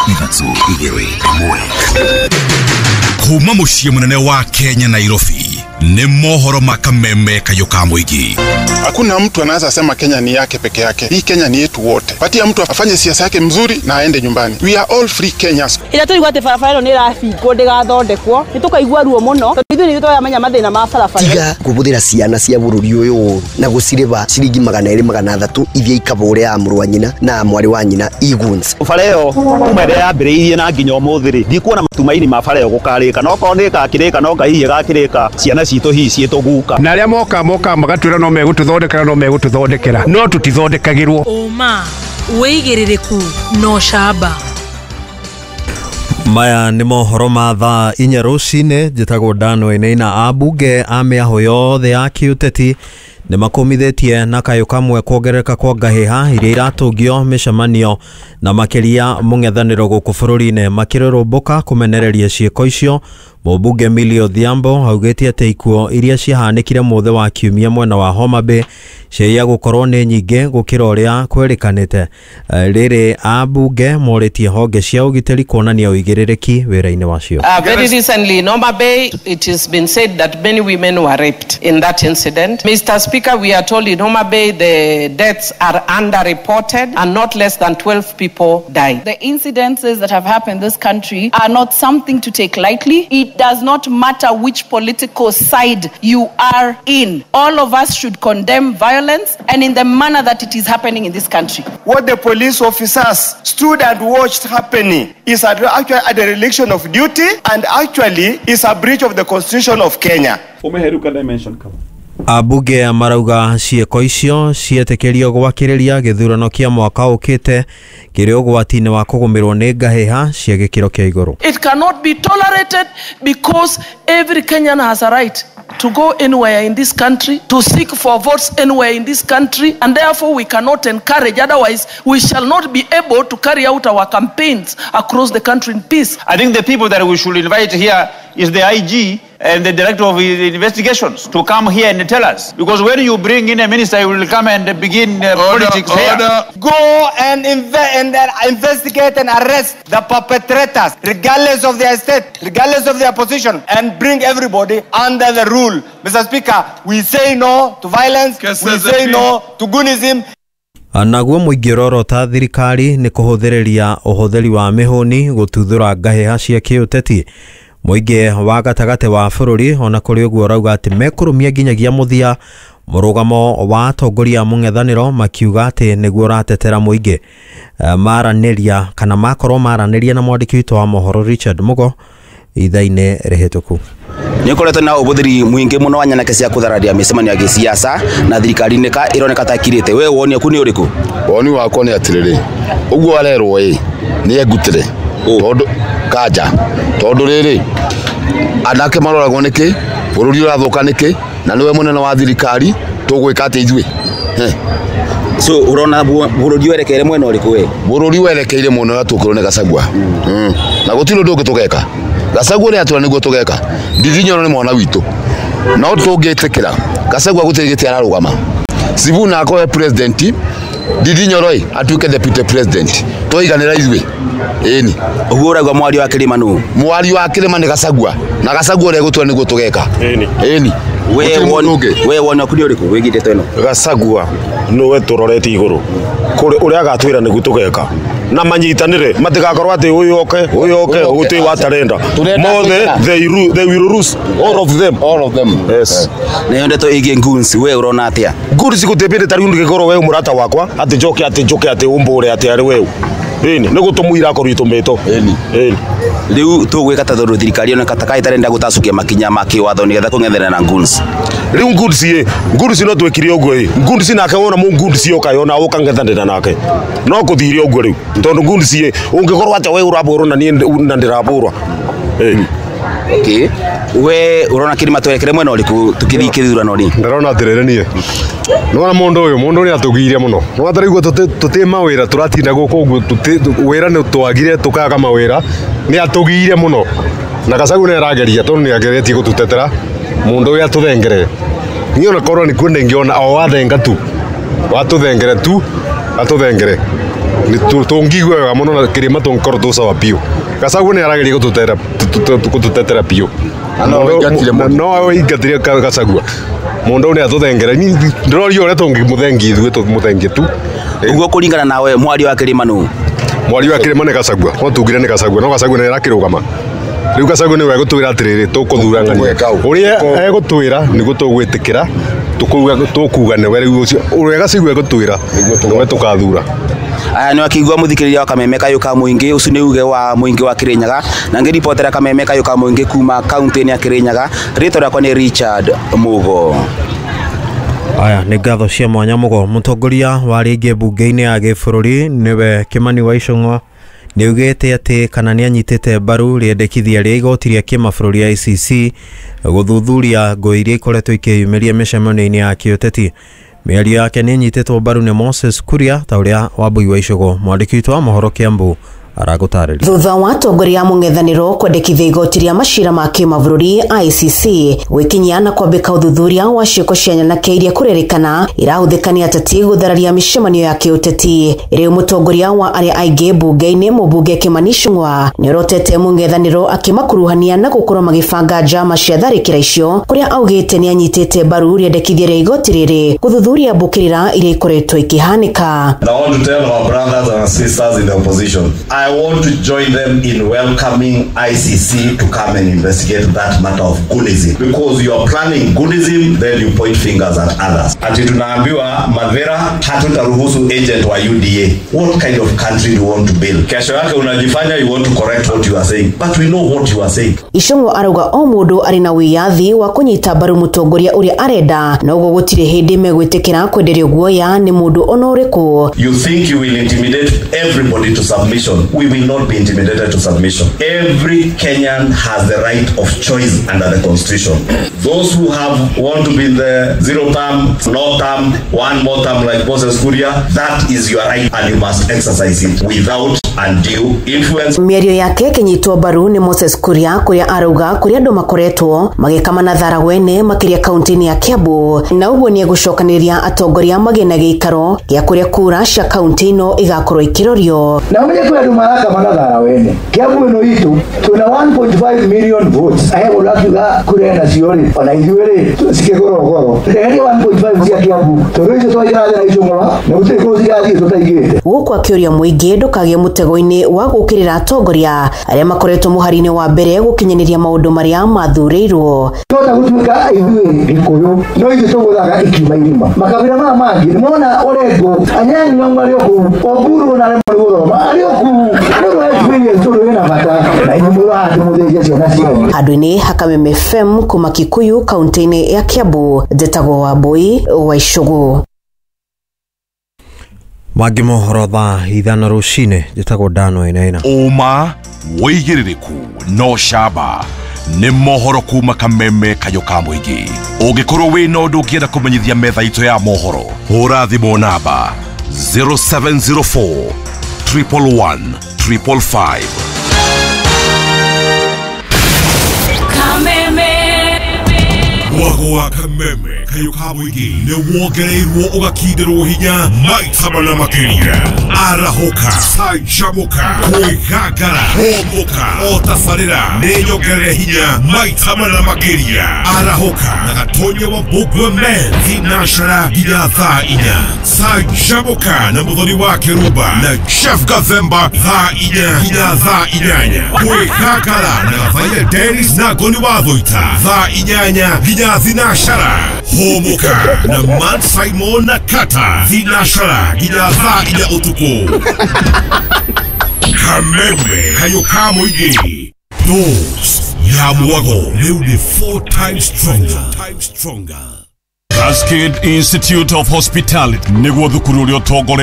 3 2 1. Kuma muciĩ mũnene wa Kenya Nairobi ni mohoro makameme kayo ka mũingĩ. Hakuna mtu anaweza sema Kenya ni yake peke yake. Hii Kenya ni yetu wote. Patia mtu afanye siasa yake mzuri na aende nyumbani. We are all free Kenyans. Ila tuli gwate barabara ĩno nĩ ĩrabingwo ndĩgathondekwo. Nĩ tũkaigua ruo mũno. Tondũ ithuĩ nĩ tũramenya mathĩna ma barabara. Tiga kũhũthĩra ciana cia bũrũri ũyũ na gũcirĩba ciringi 200 300 ithiĩ ikabũre ya mũrũ wa nyina na mwarĩ wa nyina iguns. Bara ĩyo kuma ĩrĩa yambĩrĩirie na nginya ũmũthĩ rĩ, ndikuona matumaini ma bara ĩyo gũkarĩka. No korwo nĩ ĩgakĩrĩka no Ngai hihi ĩgakĩrĩka ciana citũ hihi ciĩtũguka. Na arĩa moka magatwĩra no megũtũthondekera no megũtũthondekera no tũtithondekagĩrwo. Ũma wĩigĩrĩrĩku no camba. Maya nĩ mohoro ma thaa 4 rũcinĩ. Njĩtagwo Dan Wainaina. Ambunge a mĩahũ yothe ya kĩũteti nĩ makũmithĩtie na kayũ kamwe kuongerereka kwa ngahĩha iria iratũngio mĩcemanio na makĩria mũng'ethanĩro gũkũ bũrũri-inĩ makĩrũrũmbũka kũmenereria ciĩko icio. Mũmbunge Millie Odhiambo augĩte atĩ ikuũ iria ciahanĩkire mũthĩ wa kiumia mwena wa Homa Bay ciaiya gũkorwo nĩ nyingĩ gũkĩra ũrĩa kwĩrĩkanĩte. Rĩrĩ ambunge morĩtie honge cia ũgitĩri kuonania ũigĩrĩrĩki wĩra-inĩ wacio. Very recently in Homa Bay it has been said that many women were raped in that incident. Mr. Speaker, we are told in Homa Bay the deaths are underreported and not less than 12 people died. The incidences that have happened in this country are not something to take lightly. It does not matter which political side you are in. All of us should condemn violence and in the manner that it is happening in this country. What the police officers stood and watched happening is actually a dereliction of duty and actually is a breach of the Constitution of Kenya. Ambunge marauga ciĩko icio cietĩkĩrio gwakĩrĩria gĩthurano kĩa mwaka ũkĩte kĩrĩ ũgwati-inĩ wa kũgũmĩrwo nĩ ngahĩha cia gĩkĩro kĩa igũrũ. It cannot be tolerated because every Kenyan has a right to go anywhere in this country, to seek for votes anywhere in this country, and therefore we cannot encourage, otherwise we shall not be able to carry out our campaigns across the country in peace. I think the people that we should invite here is the IG and the director of investigations to come here and tell us. Because when you bring in a minister, he will come and begin politics here. Go and investigate and arrest the perpetrators, regardless of their state, regardless of their position, and bring everybody under the rule. Mr. Speaker, we say no to violence, we say no to goonism. Naguo mũingĩ ũrorota thirikari nĩ kũhũthĩrĩria ũhũthĩri wa mĩhũni gũtuthũra ngahĩha cia kĩũteti. Mũingĩ wa gatagatĩ wa bũrũri ona kũrĩ ũguo ũrauga atĩ mekũrũmia nginyagia mũthia mũrũgamo wa atongoria mũng'ethanĩro makiuga atĩ nĩguo ũratetera mũingĩ. Maranĩria kana makorwo maranĩria na mwandĩki witũ wa mohoro Richard Mugo ithaa-inĩ rĩhĩtũku. Nĩ ũkoretwo na ũhũthĩri mũingĩ mũno wa nyanake cia kũthararia mĩcemanio ya gĩsiasa na thirikari nĩ ka ĩroneka ta ĩkirĩte. We woni waku nĩ ũrĩkũ? Woni wakwa nĩ atĩrĩrĩ, ũguo arerwo ĩ nĩ engutĩre tondũ kanja tondũ rĩrĩ anake maroragwo nĩkĩ, bũrũri ũrathũka nĩkĩ, na nĩwe mũnene wa thirikari tũgwĩka atĩ ithuĩ. So urona bũrũri werekeire mwena ũrĩkũ we? Bũrũri werekeire mwena ũrĩa tũkĩrwo nĩ Gachagua. Na gũtirĩ ũndũ ũngĩ tũgeka. Gachagua nĩ atwĩra nĩguo tũgeka. Ndindi Nyoro nĩ mwana witũ. No tũngĩtĩkĩra Gachagua gũtirĩ gĩtĩ ararũgama. Sifuna akorwe president, Ndindi Nyoro atuĩke deputy president. Tũiganĩra ithuĩ. Ĩni. Ũguo ũrauga mwario wa kĩrĩma nũ? Mwario wa kĩrĩma nĩ Gachagua. Na Gachagua ũrĩa egũtwĩra nĩguo tũgeka. Ĩni. Ĩni. We woni waku nĩ ũrĩkũ wĩgiĩ ndeto ĩno? Gachagua nĩwe tũrorete igũrũ. Kũrĩ ũrĩa agatwĩra nĩguo tũgeka. Na manyitanĩre matigakorwo atĩ ũyũ oke ũyũ oke gũtirĩ watarenda. Mothe they will lose all of them. All of them. Yes. Nayo ndeto ĩgiĩ goons we ũrona atĩa? Goons gũtĩbĩrĩ ta rĩu ndĩgĩkorwo we mũrata wakwa atĩ njoke atĩ njoke atĩ ũmbũre atĩ arĩ weũ. Ĩni nĩ gũtũmũira akorwo itũmĩtwo. Ĩni. Ĩni. Rĩu tũgwĩka ta tondũ thirikari yoneka ta ĩtarenda gũtacũkia makinya ma kĩwatho nĩgetha kũng'ethanĩra na goons. Rĩu goons ĩ goons no twĩkire ũguo ĩ goons nake wona mũ goons yoka yona ũkang'ethanĩra nake no kũthire ũguo rĩu tondũ goons ĩ ũngĩkorwo atĩ we ũrabũrwo na niĩ na ndĩrabũrwa. Okay. We urona kĩrĩma twerekere mwena ũrĩkũ tũkĩthiĩ kĩthurano rĩ? Ndĩrona atĩrĩrĩ niĩ nĩwona mũndũ ũyũ mũndũ nĩ atũgiire mũno. Nĩwona ta rĩu tũtĩ mawĩra tũratinda gũkũ ũguo wĩra nĩ twagire tũkaga mawĩra nĩ atũgiire mũno. Na Gachagua nĩ arageria tondũ nĩ ageretie gũtũtetera mũndũ ũyũ atũthengere. Niĩ ona korwo nĩ kuo ndĩngĩona o wathenga tu watũthengere tu atũthengere. Tũngigua wega mũno na kĩrĩma tũngĩkorwo tũ sawa biũ. Gachagua nĩ arageria gũtũtetera biũ. No aingatire Gachagua. Mũndũ nĩ atũthengera. Ndĩroria ũrĩa tũngĩmũthengia ithuĩ tũmũthengie tu. Ũguo kũringana nawe mwaria wa kĩrĩma nũ? Mwaria wa kĩrĩma nĩ Gachagua. No tugire nĩ Gachagua, no Gachagua nĩ arakĩrũgama. Rĩu Gachagua nĩwe egũtwĩra atĩrĩrĩ tũkũthura ng'ania. Ũrĩa egũtwĩra nĩguo tũgwĩtĩkĩra, tũkuga nĩwe rĩu ũcio. Ũrĩa Gachagua egũtwĩra nĩwe tũkathura. Aya nĩ wakĩigua mũthikĩrĩria wa Kameme Kayũ ka Mũingĩ, ũcio nĩ uge wa mũingĩ wa Kĩrĩnyaga, na ngĩribotera Kameme Kayũ ka Mũingĩ kuma kaunti-inĩ ya Kĩrĩnyaga. Rĩtwa rĩakwa nĩ Richard Mugo. Aya nĩ ngatho cia mwanya Mugo. Mũtongoria wa rĩngĩ mbunge-inĩ ya gĩbũrũri nĩwe Kimani wa Ichung'wa nĩ augĩte atĩ kana nĩ anyitĩte mbaru rĩendekithia rĩa igoti rĩa kĩmabũrũri ICC gũthuthuria ngũĩ iria ikoretwo ikĩyumĩria mĩcemanio-inĩ ya kĩũteti. Mĩario yake nĩ ĩnyitĩtwo mbaru nĩ Moses Kuria ta ũrĩa Wambui wa Icũgũ mwandĩki witũ wa mohoro Kiambu aragũtarĩria. Thutha wa atongoria a mũng'ethanĩro kwendekithia igoti rĩa macira ma kĩmabũrũri ICC gwĩkinyia na kwambĩka ũthuthuria wa ciĩko cia nyanake iria kũrerĩkana irahũthĩka nĩ ateti gũthararia mĩcemanio ya kĩũteti. Rĩu mũtongoria wa arĩa aingĩ mbunge-inĩ mũmbunge Kimani Ichung'wa nĩorotete mũng'ethanĩro akĩmakuruhania na gũkorwo magĩbanga njama cia tharĩkĩra icio, kũrĩa augĩte nĩ anyitĩte mbaru rĩendekithia rĩa igoti rĩrĩ gũthuthuria mbũkĩrĩra iria ikoretwo ikĩhanĩka. I want to tell our brothers and sisters in the opposition, I want to join them in welcoming ICC to come and investigate that matter of Goonism. Because you are planning Goonism, then you point fingers at others. Ati tunaambiwa Madhera hatutaruhusu agent wa UDA. What kind of country do you want to build? Kesho yake unajifanya you want to correct what you are saying, but we know what you are saying. Ichung'wa arauga o mũndũ arĩ na wĩyathi wa kũnyita mbaru mũtongoria ũrĩa arenda, na ũguo gũtirĩ hĩndĩ megwĩtĩkĩra kwenderio guoya nĩ mũndũ ona ũrĩkũ. You think you will intimidate everybody to submission. We will not be intimidated to submission. Every Kenyan has the right of choice under the constitution. Those who have want to be in the zero term, no term, one more term like Moses Kuria, that is your right and you must exercise it without undue influence. Mĩario yake ĩkĩnyitwo mbaru nĩ Moses Kuria, kũrĩa arauga kũrĩa andũ makoretwo magĩkamana thara wene makĩria kaunti-inĩ ya Kiambu, na ũguo nĩ egũcokanĩrĩria atongoria magĩe na gĩikaro gĩa kũrĩa kura cia kaunti ĩno igakorwo ikĩrorio. Na ũmenye kwĩ andũ marakamana thara wene. Kiambu ĩno itũ twĩna 1.5 million votes. Ahe mũndũ akiuga kura ena cio rĩ, ona ithuĩ rĩ cikĩgũrwo goro. Eheria 1.5 cia Kiambu tondũ icio twaikara thĩ na Ichung'wa na gũtirĩ kũndũ cirathiĩ tũtaigĩte. Gũkũ akĩũria mũingĩ ndũkagĩe mũtego-inĩ wa gũũkĩrĩra atongoria arĩa makoretwo mũhari-inĩ wa mbere gũkinyanĩria maũndũ marĩa mathurĩirwo. Twahota gũtuĩka ithuĩ Gĩkũyũ no ithuĩ tũgũthaga ikiuma irima. Makabira maya mangĩ nĩmona Orengo, Anyang'o Nyong'o arĩ o kũu, Oburu ona aremwo nĩ gũthoma arĩ o kũu. Mũndũ wa experience tondũ wĩna bata na inyuĩ mũrĩ haha tũmũthĩnje ciana cianyu. Handũ-inĩ ha Kameme FM kuma Kikuyu kaunti-inĩ ya Kiambu, njĩtagwo Wambui wa Icũgũ. Mangĩ mohoro thaa 5 rũcinĩ, njĩtagwo Dano Wainaina. Ũma wĩigĩrĩrĩku no camba nĩ mohoro kuma Kameme Kayũ ka Mũingĩ. Ũngĩkorwo wĩna ũndũ ũngĩenda kũmenyithia metha itũ ya mohoro, hũra thimũ namba 0704 111 555. Kameme. Mwago wa Kameme Kayũ ka Mũingĩ nĩ wongereirwo ũgakindĩrwo hinya maita mana makĩria. Arahũka, canjamũka, kwĩgangara, hũmũka, o tabarĩra nĩ nyongerere hinya maita mana makĩria. Arahũka na Gatonya wa Mbũgua Men thinashara nginya thaa 4. Canjamũka na Mũthoni wa Kĩrumba na Jeff Gathemba thaa 4 nginya thaa 8. Kwĩgangara na Gathaia Dennis na Ngoni wa Thũita thaa 8 nginya thinashara. Hũmũka na Matt Simon na Kata thinashara nginya thaa 4 ũtukũ. Kameme Kayũ ka Mũingĩ. Dose ya mwago rĩu nĩ 4 times stronger. Cascade Institute of Hospitality nĩguo thukuru ũrĩa ũtongoretie